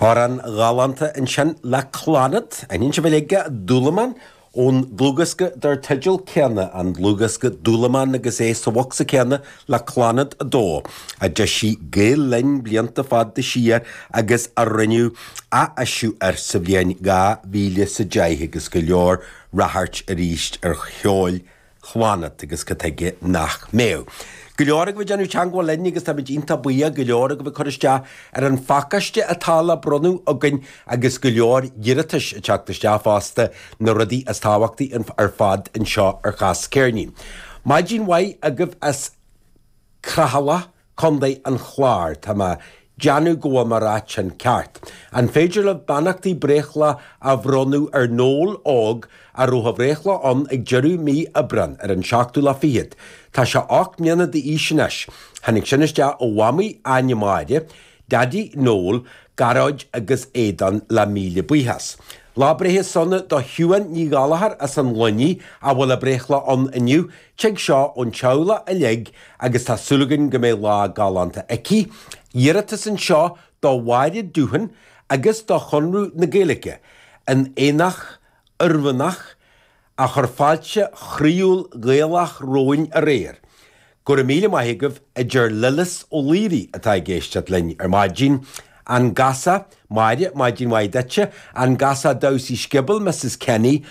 Amhrán galánta ansin le Clannad, aithníonn sibh uilig é, Dúlamán, ón dlúthdhiosca dar teideal céanna, an dlúthdhiosca Dúlamán agus é sa bhocsa céanna le Clannad 2, a d'eisigh Gael Linn blianta fada siar agus a rinneadh ath-eisiú air sa bhliain 2010 agus go leor ráchairt arís ar cheol Chlannad agus cad tuige nach mbeadh. Go leor agaibh ag déanamh teangmháil linn agus táimid iontach buíoch, go leor agaibh ag cur isteach ar an phacáiste atá le bronnadh againn agus go leor iarratais ag teacht isteach fosta, na rudaí is tábhachtaí ar fad anseo ar Chas Ceirnín. Maidin mhaith agaibh as Creathalach. Contae an Chláir, tá mé ag déanamh go bhfuil mé ag ráit sin ceart. An féidir libh beannachtaí breithlá a bhronnadh ar Noel óg a raibh a bhreithlá ann ag deireadh mí Aibreán, ar an seachtú lá fichead? Tá sé 8 mbliana d'aois anois. Tháinig sin isteach ó Mhamaí Áine Máire, Daidí Noel, Gearóid agus Aodán le míle buíochas. Lá breithe sona do Shiubhán Ní Ghallchóir as an Luinnigh a bhfuil a breithlá ann inniu. Tig seo ón teaghlach uilig agus tá súil againn go mbeidh lá galánta aici. Iarratas anseo do Mháire Doohan agus do Chonradh na Gaeilge, an Aonach Oirmhinneach, a chuir fáilte chroíúil Ghaelach romhainn aréir. Go raibh míle maith agaibh, a deir Lillis Ó Laoire atá ag éisteacht linn ar maidin. An Gasa, Máire, maidin mhaith duitse. An Gasa Damhsaí Scioból, Mrs Kenny.